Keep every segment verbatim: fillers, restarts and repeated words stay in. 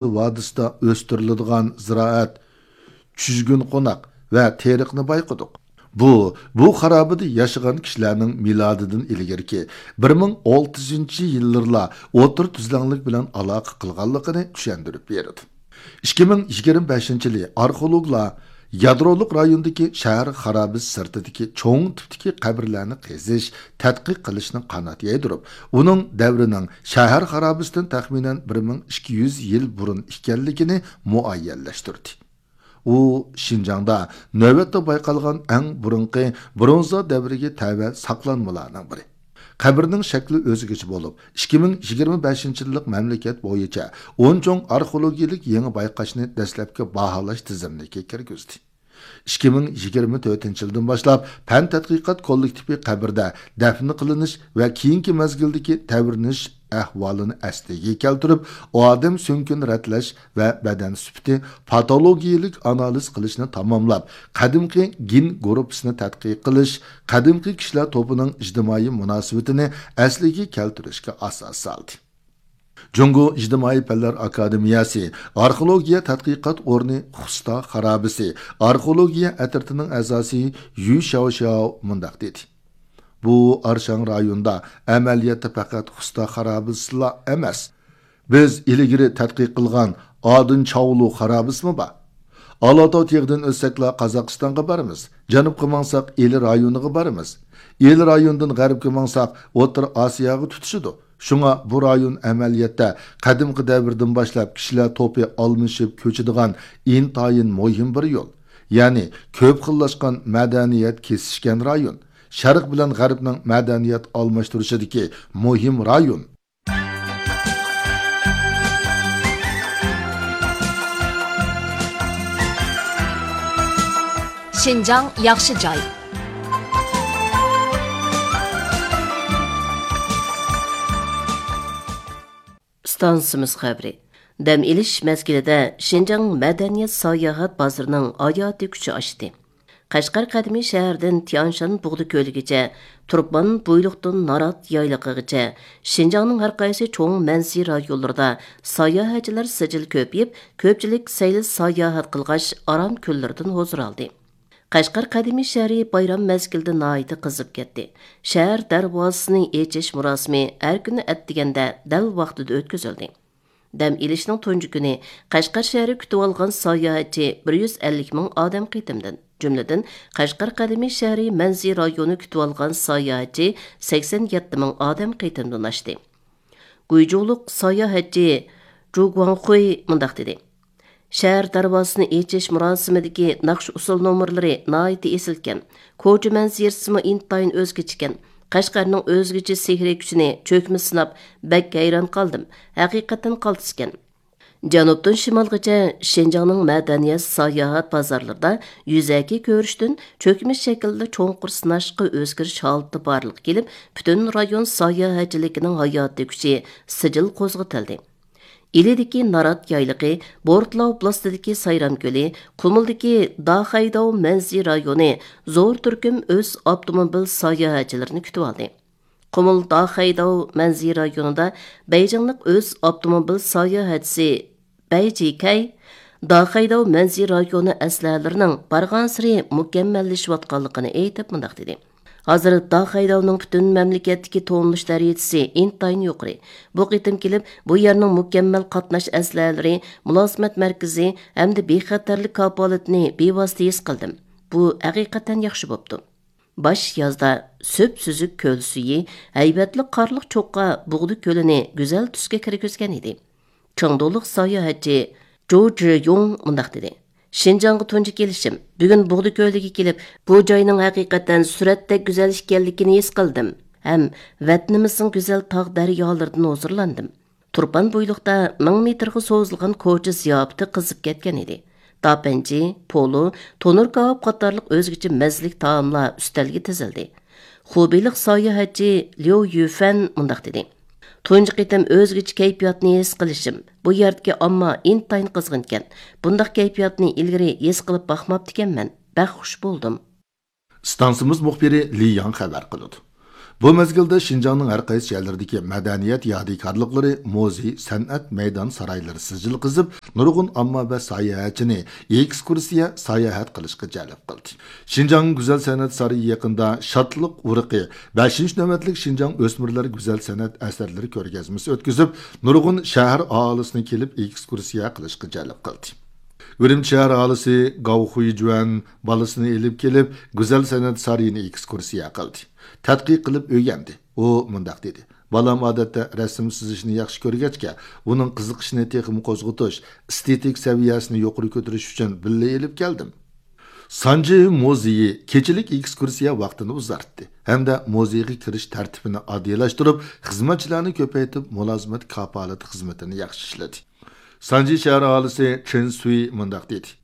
ۋادىسىدا ئۆستۈرۈلىدىغان زىرائەت، چۈجگۈن قوناق ۋە تېرىقنى بايقىدۇق. بۇ، بۇ خارابىدە ياشىغان كىشىلەرنىڭ مىلادىدىن ئىلگىرىكى بىر مىڭ ئالتە يۈزىنچى يىللىرىلا ئوتتۇرا تۈزلەڭلىك بىلەن ئالاقە قىلغانلىقىنى چۈشەندۈرۈپ بېرىدۇ. ئىككى مىڭ يىگىرمە بەشىنچى يىلى ئارخېئولوگلار يادرولۇق رايوندىكى شەھەر خارابىسى سىرتىدىكى چوڭ تىپتىكى قەبرىلەرنى قېزىش، تەتقىق قىلىشنى قانات يايدۇرۇپ، ئۇنىڭ دەۋرىنىڭ شەھەر خارابىسىدىن تەخمىنەن بىر مىڭ ئىككى يۈز يىل بۇرۇن ئىكەنلىكىنى مۇئەييەنلەشتۈردى. ئۇ شىنجاڭدا نۆۋەتتە بايقالغان ئەڭ بۇرۇنقى برونزا دەۋرىگە تەۋە ساقلانمىلارنىڭ بىرى. قەبرىنىڭ شەكلى ئۆزگىچە بولۇپ، ئىككى مىڭ يىگىرمە بەشىنچى يىللىق مەملىكەت بويىچە ئون چوڭ ئارخېئولوگىيەلىك يېڭى بايقاشنى دەسلەپكى باھالاش تىزىملىكىگە كىرگۈزدى. ئىككى مىڭ يىگىرمە تۆتىنچى يىلدىن باشلاپ پەن تەتقىقات كوللېكتىپى قەبرىدە دەپنە قىلىنىش ۋە كېيىنكى مەزگىلدىكى تەۋرىنىش ئەھۋالىنى ئەسلىگە كەلتۈرۈپ، ئادەم سۆڭىكىنى رەتلەش ۋە بەدەن سۈپىتى پاتولوگىيەلىك ئانالىز قىلىشنى تاماملاپ، قەدىمكى گېن گۇرۇپپىسىنى تەتقىق قىلىش، قەدىمكى كىشىلەر توپىنىڭ ئىجتىمائىي مۇناسىۋىتىنى ئەسلىگە كەلتۈرۈشكە ئاساس سالدى. جۇڭگو ئىجتىمائىي پەنلەر ئاكادېمىيەسى ئارخېئولوگىيە تەتقىقات ئورنى خۇستا خارابىسى ئارخېئولوگىيە ئەترىتىنىڭ ئەزاسى يۈ شياۋشياۋ مۇنداق دېدى: بۇ ئارشاڭ رايوندا ئەمەلىيەتتە پەقەت خۇستا خارابىسىلا ئەمەس، بىز ئىلگىرى تەتقىق قىلغان ئادىن چاۋلۇ خارابىسىمۇ بار. ئالاتاۋ تېغىدىن ئۆتسەكلا قازاقىستانغا بارىمىز، جەنۇبقا ماڭساق ئىلى رايونىغا بارىمىز، ئىلى رايونىدىن غەربكە ماڭساق ئوتتۇرا ئاسىياغا تۇتىشىدۇ. شۇڭا بۇ رايون ئەمەلىيەتتە قەدىمكى دەۋردىن باشلاپ كىشىلەر توپى ئالمىشىپ كۆچىدىغان ئىنتايىن مۇھىم بىر يول، يەنى كۆپ خىللاشقان مەدەنىيەت كېسىشكەن رايون، شەرق بىلەن غەربنىڭ مەدەنىيەت ئالماشتۇرۇشىدىكى مۇھىم رايون. شىنجاڭ ياخشى جاي. ئىستانسىمىز خەۋىرى. دەم ئېلىش مەزگىلىدە شىنجاڭ مەدەنىيەت ساياھەت بازىرىنىڭ ھاياتىي كۈچى ئاشتى. قەشقەر قەدىمىي شەھىرىدىن تيانشان بۇغدا كۆلىگىچە، تۇرپان بويلۇقتىن نارات يايلىقىغىچە، شىنجاڭنىڭ ھەر قايسى چوڭ مەنزىرە رايونلىرىدا ساياھەتچىلەر سىجىل كۆپىيىپ، كۆپچىلىك سەيلە ساياھەت قىلغاچ، ئارام كۈنلىرىدىن ھۇزۇر ئالدى. قەشقەر قەدىمىي شەھىرى بايرام مەزگىلىدە ناھايىتى قىزىپ كەتتى. شەھەر دەرۋازىسىنى ئېچىش مۇراسىمى ھەر كۈنى ئەتىگەندە دەل ۋاقتىدا ئۆتكۈزۈلدى. دەم ئېلىشنىڭ تۇنجى كۈنى قەشقەر شەھىرى كۈتۈۋالغان ساياھەتچى بىر يۈز ئەللىك مىڭ ئادەم قېتىمدىن، جۈملىدىن، قەشقەر قەدىمىي شەھىرى مەنزىرە رايونى كۈتۈۋالغان ساياھەتچى سەكسەن يەتتە مىڭ ئادەم قېتىمدىن ئاشتى. گۇيجۇلۇق ساياھەتچى جۇ گۇاڭخۇي مۇنداق دېدى: شەھەر دەرۋازىسىنى ئېچىش مۇراسىمىدىكى ناخشا-ئۇسسۇل نومۇرلىرى ناھايىتى ئېسىلكەن. كوچا مەنزىرىسىمۇ ئىنتايىن ئۆزگىچىكەن. قەشقەرنىڭ ئۆزگىچە سېھرىي كۈچىنى چۆكمە سىناپ، بەك ھەيران قالدىم. ھەقىقەتەن قالتىسكەن. جەنۇبتىن شىمالغىچە شىنجاڭنىڭ مەدەنىيەت ساياھەت بازارلىرىدا يۈزەكى كۆرۈشتىن چۆكمە شەكىلدە چوڭقۇر سىناشقا ئۆزگىرىش ھالىتى بارلىققا كېلىپ، پۈتۈن رايون ساياھەتچىلىكىنىڭ ھاياتىي كۈچى سىجىل قوزغىتىلدى. ئىلىدىكى نارات يايلىقى، بورتلا ئوبلاستىدىكى سايرام كۆلى، قۇمۇلدىكى داخەيداۋ مەنزىرە رايونى زور تۈركۈم ئۆز ئاپتوموبىل ساياھەتچىلىرىنى كۈتۈۋالدى. قۇمۇل داخەيداۋ مەنزىرە رايونىدا بېيجىڭلىق ئۆز ئاپتوموبىل ساياھەتچىسى بەي جىكەي داخەيداۋ مەنزىرە رايونى ئەسلىھەلىرىنىڭ بارغانسېرى مۇكەممەللىشىۋاتقانلىقىنى ئېيتىپ مۇنداق دېدى: ھازىر داخەيداۋنىڭ پۈتۈن مەملىكەتتىكى تونۇلۇش دەرىجىسى ئىنتايىن يۇقىرى. بۇ قېتىم كېلىپ، بۇ يەرنىڭ مۇكەممەل قاتناش ئەسلىھەلىرى، مۇلازىمەت مەركىزى ھەمدە بىخەتەرلىك كاپالىتىنى بىۋاسىتە ھېس قىلدىم. بۇ ھەقىقەتەن ياخشى بوپتۇ. باش يازدا سۈپسۈزۈك كۆل سۈيى، ھەيۋەتلىك قارلىق چوققا بۇغدا كۆلىنى گۈزەل تۈسكە كىرگۈزگەن ئىدى. چېڭدۇلۇق ساياھەتچى جۇ جىيۇڭ مۇنداق دېدى: شىنجاڭغا تۇنجى كېلىشىم. بۈگۈن بۇغدا كۆلىگە كېلىپ، بۇ جاينىڭ ھەقىقەتەن سۈرەتتەك گۈزەل ئىكەنلىكىنى ھېس قىلدىم ھەم ۋەتىنىمىزنىڭ گۈزەل تاغ دەريالىرىدىن ھۇزۇرلاندىم. تۇرپان بويلۇقتا مىڭ مېتىرغا سوزۇلغان كوچا زىياپىتى قىزىپ كەتكەن ئىدى. داپەنجى، پولۇ، تونۇر كاۋاپ قاتارلىق ئۆزگىچە مەززىلىك تائاملار ئۈستەلگە تىزىلدى. خۇبېيلىق ساياھەتچى ليۇ يۈفەن مۇنداق دېدى: تۇنجى قېتىم ئۆزگىچە كەيپىياتنى ھېس قىلىشىم. بۇ يەردىكى ئامما ئىنتايىن قىزغىنكەن. بۇنداق كەيپىياتنى ئىلگىرى ھېس قىلىپ باقماپتىكەنمەن. بەك خۇش بولدۇم. ئىستانسىمىز مۇخبىرى لى ياڭ خەۋەر قىلىدۇ. بۇ مەزگىلدە شىنجاڭنىڭ ھەر قايسى شەھەرلىرىدىكى مەدەنىيەت يادىكارلىقلىرى، مۇزېي، سەنئەت مەيدان سارايلىرى سىجىل قىزىپ، نۇرغۇن ئامما ۋە ساياھەتچىنى ئېكسكۇرسىيە، ساياھەت قىلىشقا جەلپ قىلدى. شىنجاڭ گۈزەل سەنئەت سارىيى يېقىندا شادلىق ئۇرۇقى بەشىنچى نۆۋەتلىك شىنجاڭ ئۆسمۈرلەر گۈزەل سەنئەت ئەسەرلىرى كۆرگەزمىسى ئۆتكۈزۈپ، نۇرغۇن شەھەر ئاھالىسىنى كېلىپ ئېكسكۇرسىيە قىلىشقا جەلپ قىلدى. ئۈرۈمچى شەھەر ئاھالىسى گاۋ خۇيجۈەن بالىسىنى ئېلىپ كېلىپ، گۈزەل سەنئەت سارىيىنى ئېكسكۇرسىيە قىلدى. تەتقىق قىلىپ ئۆگەندى. ئۇ مۇنداق دېدى: «بالام ئادەتتە رەسىم سىزىشنى ياخشى كۆرگەچكە، ئۇنىڭ قىزىقىشىنى تېخىمۇ قوزغىتىش، ئېستېتىك سەۋىيەسىنى يۇقىرى كۆتۈرۈش ئۈچۈن بىللە ئېلىپ كەلدىم.» سانجى مۇزېيى كېچىلىك ئېكسكۇرسىيە ۋاقتىنى ئۇزارتتى ھەمدە مۇزېيغا كىرىش تەرتىپىنى ئاددىيلاشتۇرۇپ، خىزمەتچىلەرنى كۆپەيتىپ، مۇلازىمەت كاپالىتى خىزمىتىنى ياخشى ئىشلىدى. سانجى شەھەر ئاھالىسى چېن سۈي مۇنداق دېدى: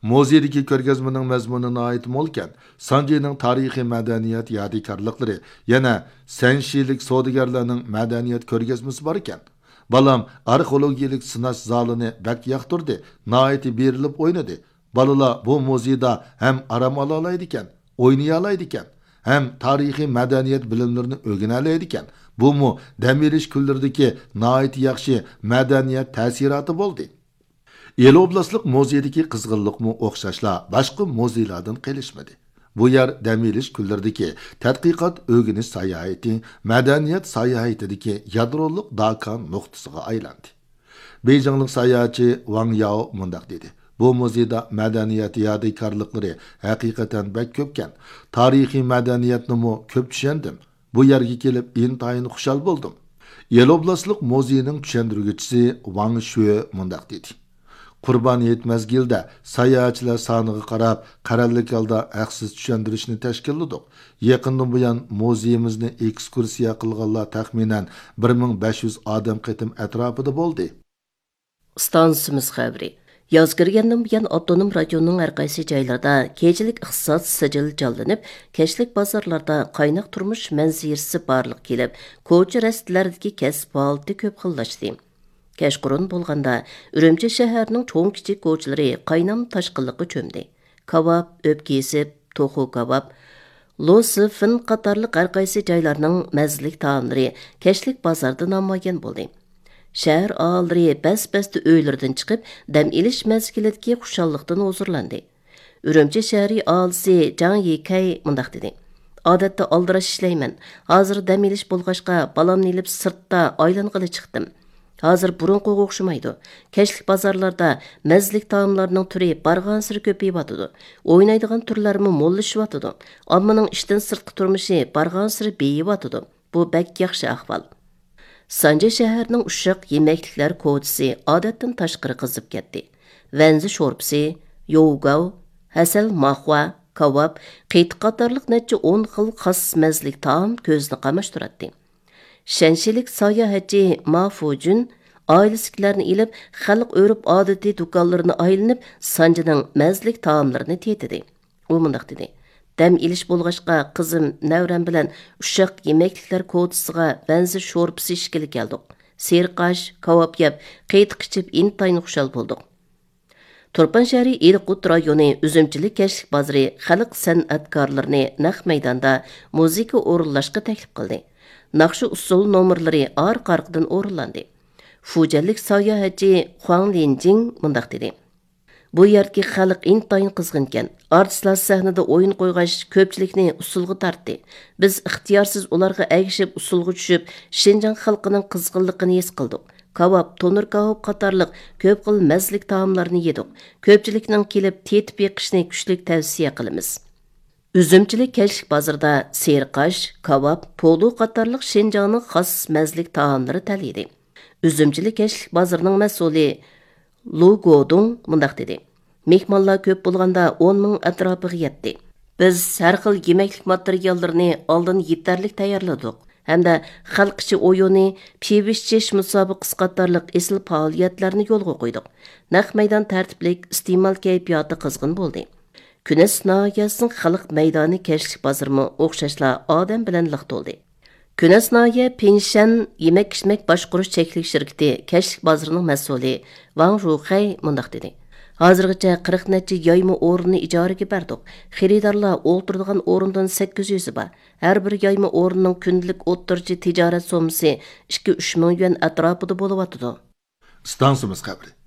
«مۇزېيدىكى كۆرگەزمىنىڭ مەزمۇنى ناھايىتى مولكەن. سانجىنىڭ تارىخىي مەدەنىيەت يادىكارلىقلىرى، يەنە سەنشىلىك سودىگەرلەرنىڭ مەدەنىيەت كۆرگەزمىسى باركەن. بالام ئارخېئولوگىيىلىك سىناش زالىنى بەك ياقتۇردى، ناھايىتى بېرىلىپ ئوينىدى. بالىلار بۇ مۇزېيدا ھەم ئارام ئالالايدىكەن، ئوينىيالايدىكەن، ھەم تارىخىي مەدەنىيەت بىلىملىرىنى ئۆگىنەلەيدىكەن. بۇمۇ دەم ئېلىش كۈنلىرىدىكى ناھايىتى ياخشى مەدەنىيەت تەسىراتى بولدى.» ئىلى ئوبلاستلىق مۇزېيدىكى قىزغىنلىقمۇ ئوخشاشلا باشقا مۇزېيلاردىن قېلىشمىدى. بۇ يەر دەم ئېلىش كۈنلىرىدىكى تەتقىقات، ئۆگىنىش ساياھىتى، مەدەنىيەت ساياھىتىدىكى يادرولۇق داكان نۇقتىسىغا ئايلاندى. بېيجىڭلىق ساياھەتچى ۋاڭ ياۋ مۇنداق دېدى: «بۇ مۇزېيدا مەدەنىيەت يادىكارلىقلىرى ھەقىقەتەن بەك كۆپكەن. تارىخىي مەدەنىيەتنىمۇ كۆپ چۈشەندىم. بۇ يەرگە كېلىپ ئىنتايىن خۇشال بولدۇم.» ئىلى ئوبلاستلىق مۇزېيىنىڭ چۈشەندۈرگۈچىسى ۋاڭ شۈې مۇنداق دېدى: «قۇربان ھېيت مەزگىلىدە ساياھەتچىلەر سانىغا قاراپ، قەرەللىك ھالدا ھەقسىز چۈشەندۈرۈشنى تەشكىللىدۇق. يېقىندىن بۇيان مۇزېيىمىزنى ئېكسكۇرسىيە قىلغانلار تەخمىنەن بىر مىڭ بەش يۈز ئادەم قېتىم ئەتراپىدا بولدى.» ئىستانسىمىز خەۋىرى. ياز كىرگەندىن بۇيان، ئاپتونوم رايوننىڭ ھەر قايسى جايلىرىدا كېچىلىك ئىقتىساد سىجىل جانلىنىپ، كەچلىك بازارلاردا قايناق تۇرمۇش مەنزىرىسى بارلىققا كېلىپ، كوچا رەستىلەردىكى كەسىپ پائالىيىتى كۆپ خىللاشتى. كەچقۇرۇن بولغاندا، ئۈرۈمچى شەھىرىنىڭ چوڭ-كىچىك كوچىلىرى قاينام تاشقىنلىققا چۆمدى. كاۋاپ، ئۆپكە ئېسىپ، توخۇ كاۋاپ، لو سىفىن قاتارلىق ھەر قايسى جايلارنىڭ مەززىلىك تائاملىرى كەچلىك بازاردا نامايان بولدى. شەھەر ئاھالىلىرى بەس-بەستە ئۆيلىرىدىن چىقىپ، دەم ئېلىش مەزگىلىدىكى خۇشاللىقتىن ھۇزۇرلاندى. ئۈرۈمچى شەھىرى ئاھالىسى جاڭ يىكەي مۇنداق دېدى: «ئادەتتە ئالدىراش ئىشلەيمەن. ھازىر دەم ئېلىش بولغاچقا، بالامنى ئېلىپ سىرتتا ئايلانغىلى چىقتىم. ھازىر بۇرۇنقىغا ئوخشىمايدۇ. كەچلىك بازارلاردا مەززىلىك تائاملارنىڭ تۈرى بارغانسېرى كۆپىيىۋاتىدۇ. ئوينايدىغان تۈرلەرمۇ موللىشىۋاتىدۇ. ئاممىنىڭ ئىشتىن سىرتقى تۇرمۇشى بارغانسېرى بېيىۋاتىدۇ. بۇ بەك ياخشى ئەھۋال.» سانجى شەھىرىنىڭ ئۇششاق يېمەكلىكلەر كوچىسى ئادەتتىن تاشقىرى قىزىپ كەتتى. ۋەنزى شورپىسى، يوۋگاۋ، ھەسەل ماخوا، كاۋاپ، قېتىق قاتارلىق نەچچە ئون خىل خاس مەززىلىك تائام كۆزنى قاماشتۇراتتى. شەنشىلىك ساياھەتچى ما فۇجۈن ئائىلىسىدىكىلەرنى ئېلىپ، خەلق ئۆرپ-ئادىتى دۇكانلىرىنى ئايلىنىپ، سانجىنىڭ مەززىلىك تائاملىرىنى تېتىدى. ئۇ مۇنداق دېدى: «دەم ئېلىش بولغاچقا، قىزىم، نەۋرەم بىلەن ئۇششاق يېمەكلىكلەر كوچىسىغا ۋەنزى شورپىسى ئىچكىلى كەلدۇق. سېرىق ئاش، كاۋاپ يەپ، قېتىق ئىچىپ، ئىنتايىن خۇشال بولدۇق.» تۇرپان شەھىرى ئېلىقۇت رايونى ئۈزۈمچىلىك كەچلىك بازىرى خەلق سەنئەتكارلىرىنى نەق مەيداندا مۇزىكا ئورۇنلاشقا تەكلىپ قىلدى. ناخشا-ئۇسسۇل نومۇرلىرى ئارقا-ئارقىدىن ئورۇنلاندى. فۇجەنلىك ساياھەتچى خۇاڭ لىنجىڭ مۇنداق دېدى: «بۇ يەردىكى خەلق ئىنتايىن قىزغىنكەن. ئارتىسلار سەھنىدە ئويۇن قويغاچ، كۆپچىلىكنى ئۇسسۇلغا تارتتى. بىز ئىختىيارسىز ئۇلارغا ئەگىشىپ ئۇسسۇلغا چۈشۈپ، شىنجاڭ خەلقىنىڭ قىزغىنلىقىنى ھېس قىلدۇق. كاۋاپ، تونۇر كاۋاپ قاتارلىق كۆپ خىل مەززىلىك تائاملارنى يېدۇق. كۆپچىلىكنىڭ كېلىپ تېتىپ بېقىشىنى كۈچلۈك تەۋسىيە قىلىمىز.» ئۈزۈمچىلىك كەچلىك بازىرىدا سېرىق ئاش، كاۋاپ، پولۇ قاتارلىق شىنجاڭنىڭ خاس مەززىلىك تائاملىرى تەلىيىدۇ. ئۈزۈمچىلىك كەچلىك بازىرىنىڭ مەسئۇلى لۇ گودۇڭ مۇنداق دېدى: «مېھمانلار كۆپ بولغاندا ئون مىڭ ئەتراپىغا يەتتى. بىز ھەر خىل يېمەكلىك ماتېرىياللىرىنى ئالدىن يېتەرلىك تەييارلىدۇق ھەمدە خەلق ئىچى ئويۇنى، پىۋىشچىش مۇسابىقىسى قاتارلىق ئېسىل پائالىيەتلەرنى يولغا قويدۇق. نەق مەيدان تەرتىپلىك، ئىستېمال كەيپىياتى قىزغىن بولدى.» كۈنەس ناھىيەسىنىڭ خەلق مەيدانى كەچلىك بازىرىمۇ ئوخشاشلا ئادەم بىلەن لىق تولدى. كۈنەس ناھىيە پىنشەن يېمەك-ئىچمەك باشقۇرۇش چەكلىك شىركىتى كەچلىك بازىرىنىڭ مەسئۇلى ۋاڭ رۇخەي مۇنداق دېدى: ھازىرغىچە قىرىق نەچچە يايما ئورۇننى ئىجارىگە بەردۇق. خېرىدارلار ئولتۇرىدىغان ئورۇندىن سەككىز يۈزى بار. ھەر بىر يايما ئورۇننىڭ كۈندىلىك ئوتتۇرىچە تىجارەت سوممىسى ئىككى ئۈچ مىڭ يۈەن ئەتراپىدا بولۇۋاتىدۇ. ئىستانسىمىز قەبرە.